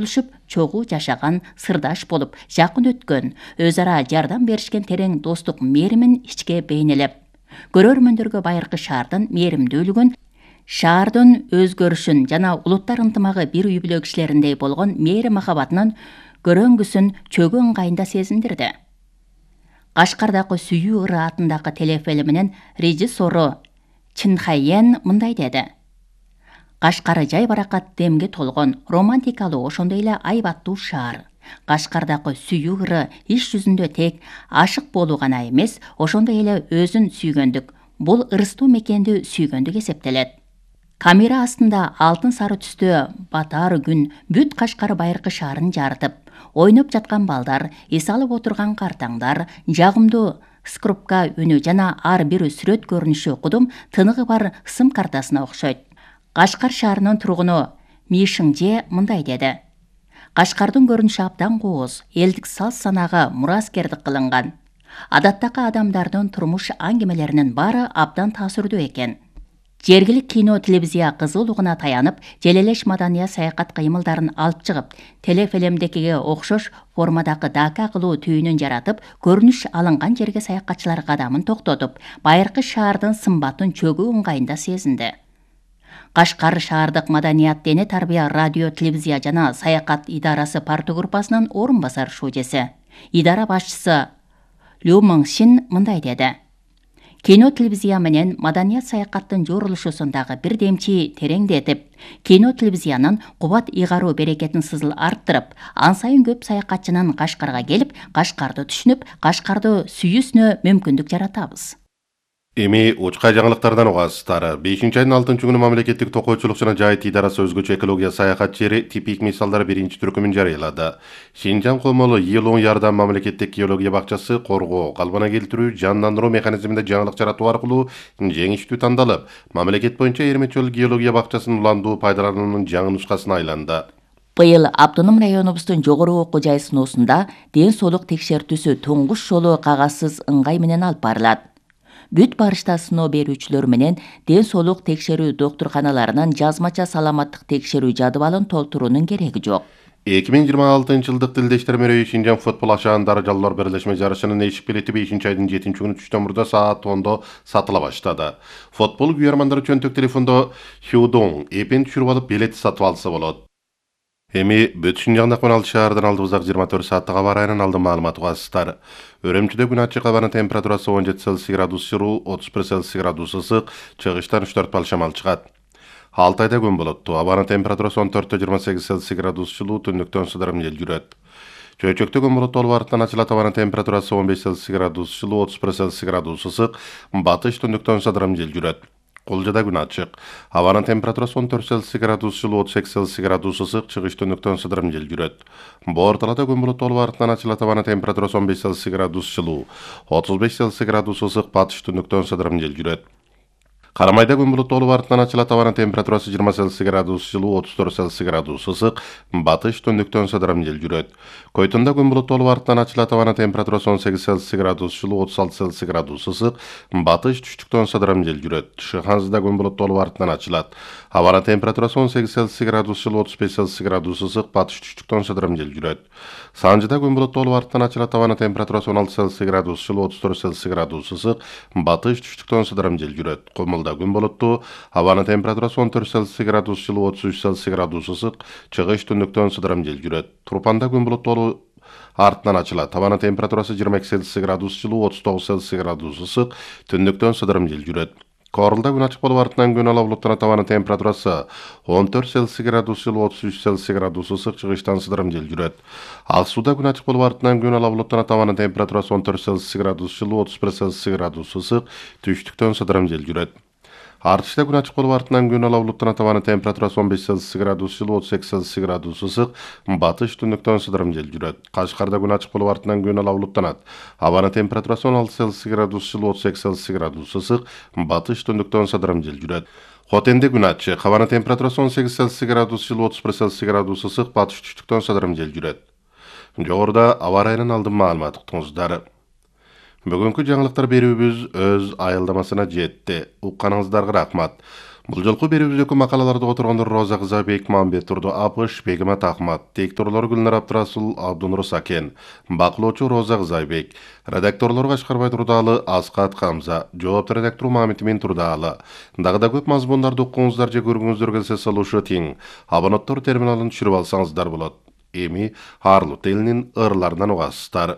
чогуу жашаган, сырдаш болуп, жакын өткөн, өз ара жардам беришкен терең достук мээримин ичке бейнелеп, көрөрмөндөргө байыркы шаардын мээримдүүлүгүн, шаардын өзгөрүшүн жана улуттар ынтымагы бир үй бүлө кишилериндей болгон мээрим махабатынын көрөңгүсүн чөгүү ыңгайында сезиндирди. Кашкардагы Сүйүү ыры атындагы телефилминин режиссеру Чинхайен мындай деди: Кашкар жай баракат демге толгон, романтикалуу, ошондой эле айбаттуу шаар. Кашкардагы Сүйүү ыры иш жүзүндө тек ашык болуу гана эмес, ошондой эле өзүн сүйгөндүк, бул ырыстуу мекенди сүйгөндүк эсептелет. Камера астында алтын сары түстө батар күн бүт Кашкар байыркы шаарын жарытып, ойноп жаткан балдар, эс алып отурган картаңдар, жагымдуу скрупка үнү жана ар бир сүрөт көрүнүшү кудум тыныгы бар сым картасына окшойт. Кашкар шаарынын тургуну Мишиңже мындай деди: Кашкардын көрүнүшү абдан кооз, элдик салт-санаага мураскердик кылынган. Адаттагы адамдардын турмуш аңгемелеринин баары абдан таасирдүү экен. Жергилик кино телевизия кызуулугуна таянып, желелеш маданият саякат кыймылдарын алып чыгып, телефилмдекиге окшош формадагы дака кылуу түйүнүн жаратып, көрүнүш алынган жерге саякатчылар кадамын токтотуп, байыркы шаардын сымбатын чөгүү ыңгайында сезинди. Кашкар шаардык маданият, дене тарбия, радио, телевизия жана саякат идарасы парты группасынын орун басар шужеси, идара башчысы Лю Мыңшин мындай деди: Кино телевизия менен маданият саякаттын жорулушусундагы бир демчи тереңдетип, кино телевизиянын кубат ыйгаруу берекетин сызыл арттырып, ан сайын көп саякатчынын Кашкарга келип, Кашкарды түшүнүп, Кашкарды сүйүүсүнө мүмкүндүк жаратабыз. Эми учка жаңылыктардан угасыздар. 5-айдын 6-күнү мамлекеттик токойчулук жана жайыт идарасы өзгөчө экология саякат жери типик мисалдар биринчи түркүмүн жарыялады. Шинжаң Комолу Йылоң Ярдам мамлекеттик геология бакчасы коргоо, калыбына келтирүү, жандандыруу механизминде жаңылык жаратуу аркылуу жеңиштүү тандалып, мамлекет боюнча Эрметчөл геология бакчасынын уландуу пайдалануунун жаңы нускасына айланды. Быйыл автоном районубуздун жогору окуу жай сыноосунда ден соолук текшертүүсү туңгуш жолу кагазсыз ыңгай менен алып барылат. Бүт барышта сыноо берүүчүлөр менен ден соолук текшерүү доктурканаларынын жазмача саламаттык текшерүү жадыбалын толтуруунун кереги жок. 2026-жылдык Тилдештер мерейи Шинжаң футбол ашаан дарыжалуулар бирлешме жарышынын эшик билети 5-айдын 7-күнү түштөн мурда саат 10-до сатыла баштады. Футбол күйөрмандары чөнтөк телефондо Хюдоң эпин түшүрүп алып билет сатып алса болот. Эми бүт Шинжаңда 16 шаардын алдыбыздагы 24 сааттык аба ырайынын алдын маалыматы угасыздар. Өрөмчүдө күн ачык, абанын температурасы 17 Цельсий градус жылуу, 31 Цельсий градус ысык, чыгыштан 3-4 бал шамал чыгат. Алтайда күн болоттуу, абанын температурасы 14-28 Цельсий градус жылуу, түндүктөн сыдырым жел жүрөт. Чөйчөктө күн болоттуу, болуп артынан ачылат, абанын температурасы 15 Цельсий градус жылуу, 31 Цельсий градус ысык, батыш түндүктөн сыдырым жел жүрөт. Кулжада күн ачык, абанын температурасы 14 Цельсий градус жылуу, 38 Цельсий градус ысык, чыгыш түндүктөн сыдырым жел жүрөт. Боорталада күн болоттуу, болуп артынан ачылат, абанын температурасы 15 Цельсий градус жылуу, 35 Цельсий градус ысык, батыш түндүктөн сыдырым жел жүрөт. Карамайда күн болоттуу, болуп артынан ачылат, абанын температурасы 20 Цельсий градус жылуу, 34 Цельсий градус ысык, батыш түндүктөн сыдырым жел жүрөт. Койтунда күн болоттуу, болуп артынан ачылат, абанын температурасы 18 Цельсий градус жылуу, 36 Цельсий градус ысык, батыш түштүктөн сыдырым жел жүрөт. Шыханзыда күн болоттуу, болуп артынан ачылат, абанын температурасы 18 Цельсий градус жылуу, 35 Цельсий градус ысык, батыш түштүктөн сыдырым жел жүрөт. Санжыда күн болоттуу, болуп артынан ачылат, абанын температурасы 16 Цельсий градус жылуу, 34 Цельсий градус ысык, батыш түштүктөн сыдырым жел жүрөт. Комулда күн болоттуу, абанын температурасы 14 Цельсий градус жылуу, 33 Цельсий градус ысык, чыгыш түндүктөн сыдырым жел жүрөт. Турпанда күн болоттуу, артынан ачылат, абанын температурасы 22 Цельсий градус жылуу, 39 Цельсий градус ысык, түндүктөн сыдырым жел жүрөт. Корулда күн ачык болуп артынан күн ала булуттанат, абанын температурасы 14 Цельсий градус жылуу, 33 Цельсий градус ысык, чыгыштан сыдырым жел жүрөт. Ак сууда күн ачык болуп артынан күн ала булуттанат, абанын температурасы 14 Цельсий градус жылуу, 31 Цельсий градус ысык, түштүктөн сыдырым жел жүрөт. Артышта күн ачык болуп артынан күн ала булуттанат, абанын температурасы 15 Цельсий градус жылуу, 38 Цельсий градус ысык, батыш түндүктөн сыдырым жел жүрөт. Кашкарда күн ачык болуп артынан күн ала булуттанат, абанын температурасы 16 Цельсий градус жылуу, 38 Цельсий градус ысык, батыш түндүктөн сыдырым жел жүрөт. Хотенде күн ачык, абанын температурасы 18 Цельсий градус жылуу, 31 Цельсий градус ысык, батыш түштүктөн сыдырым жел жүрөт. Жогоруда аба ырайынын алдын маалыматы уктуңуздар. Бүгүнкү жаңылыктар берүүбүз өз айылдамасына жетти. Укканыңыздарга рахмат. Бул жолку берүүбүздөгү макалаларда отургондор Роза Кызайбек, Мамбет Турду Апыш, Бегимат Ахмат, текторлор Гүлнар Абдрасул, Абдунур Сакен, бакылоочу Роза Кызайбек, редакторлор Кашкарбай Турдаалы, Аскат Камза, жоопту редактор Мамитмин Турдаалы. Дагы да көп мазмундарды укуңуздар же көргүңүздөр келсе салышы тең. Абоненттор терминалын түшүрүп алсаңыздар болот. Эми Арлут элинин ырларынан угасыздар.